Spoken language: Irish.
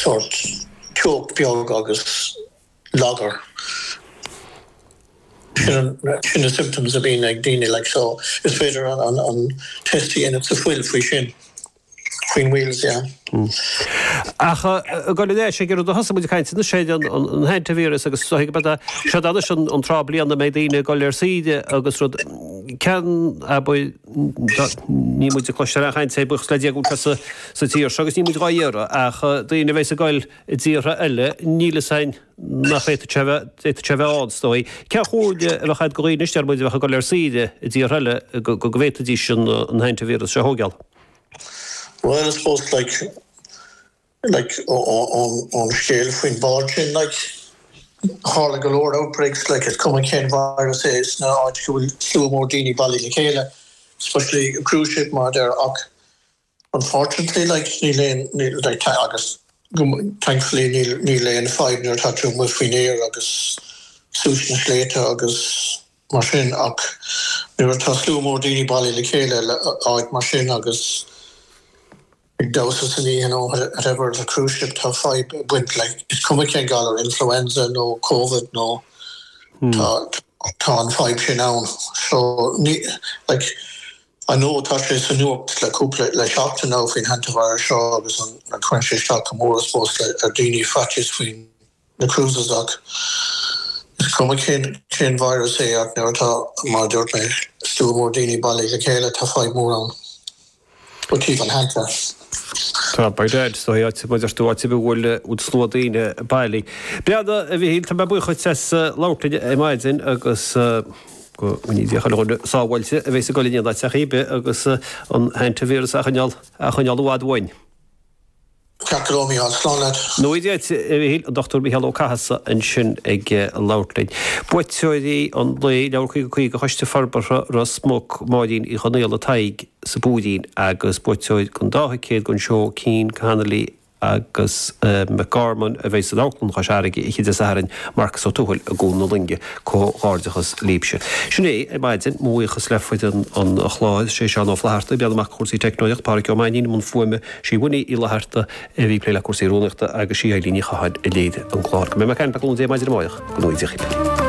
sórt teocht beag agus lagar. Sin na symptoms a bhíonn ag daoine like so is féidir an test a dhéanamh sa fuil faoi sin, faoin wheals, yeah. Ach ag dul ar ais ag an rud a thosaigh muid ag caint anois ar an hantavirus agus is dóigh go mbeidh sé anois an tráth bliana a mbeidh daoine ag dul ar saoire agus rud ceann abair níl muid ag cloisteáil aon chaint air buíochas le Dia go bhfuil sé sa tír seo agus níl muid dhá iarraidh ach daoine a bheas ag dul i dtíortha eile níl fhios a'inn nach bhféadfadh sé a bheith, d'fhéadfadh sé a bheith ann is dóigh. Cén chomhairle a bheadh a'd do dhaoine anois deir muid a bheadh ag dul ar saoire i dtíortha eile go go bhféadfaidís an an hantavirus seo a thógáil? Well I suppose like like ón ón scéal faoin bhád sin like tharla go leor outbreaks like is cuma cén virus é sna áit go bhfuil slua mór daoine bailithe le chéile especially cruise ship mar a deir ach Unfortunately like níl aon níl like agus thankfully níl níl aon fadhb nuair atá tú amuigh faoin aer agus suas na sléibhte agus mar sin ach nuair atá slua mór daoine bailithe le chéile le áit mar sin agus ag damhsa san oíche nó whatever the cruise ship tá fadhb ag baint like is cuma cén galar influenza nó covid nó tá tá an fadhb sin ann so ní like I know tá sé sa nuacht le cúpla, le seachtain now faoin hantavirus seo agus an, cuireann sé isteach go mór I suppose le, ar daoine faitíos faoin na cruises ach is cuma cén, cén virus é ach nuair atá, mar a dúirt mé, slua mór daoine bailithe le chéile tá fadhb mór ann ó taobh an hanta. Tá, by dad, is dóigh, áit, mar a deir tú, áit ar bith a bhfuil, bhfuil slua daoine bailithe. Breathnaigh, a Mhichíl, tá mé buíoch dhuit as labhairt linn ar maidin agus. Go ndéana Dia chuile dhuine sábháilte a bheas ag dul in aon áit ar bith agus an hantavirus a choinneáil a choinneáil i bhfad uainn. Ceart go leor, Mícheál. Slán leat. Go ngnóthaí Dia duit, a Mhichíl, an Dr Mícheál Ó Cathasaigh ansin ag labhairt linn. Buaiteoirí an lae, Leabhar 50 50 Choiste Forbartha Ros Muc, Máirín Uí Chonaola Tadhg sa bPúirín agus buaiteoir den dá thicéad don seó Cian Connolly agus McGorman a bheidh san Amharclann Chois Fharraige oíche Dé Sathairn, Marcus Ó Tuathail i gCuan na Loinge. Comhghairdeachas libhse. Sin é ar maidin. Mo bhuíochas le foireann an chláir, sé Seán Ó Flatharta ag breathnú amach cúrsaí teicneolaíocht, Pádhraic Ó Mainnín i mbun fuaime, sí Winnie Uí Fhlatharta a bhí ag plé le cúrsaí rúnaíochta agus sí Eilín Ní Chatháin a léirigh an clár. Go mbeidh mé ag caint le cúnamh Dé maidin amárach. Go ngnóthaí Dia dhaoibh.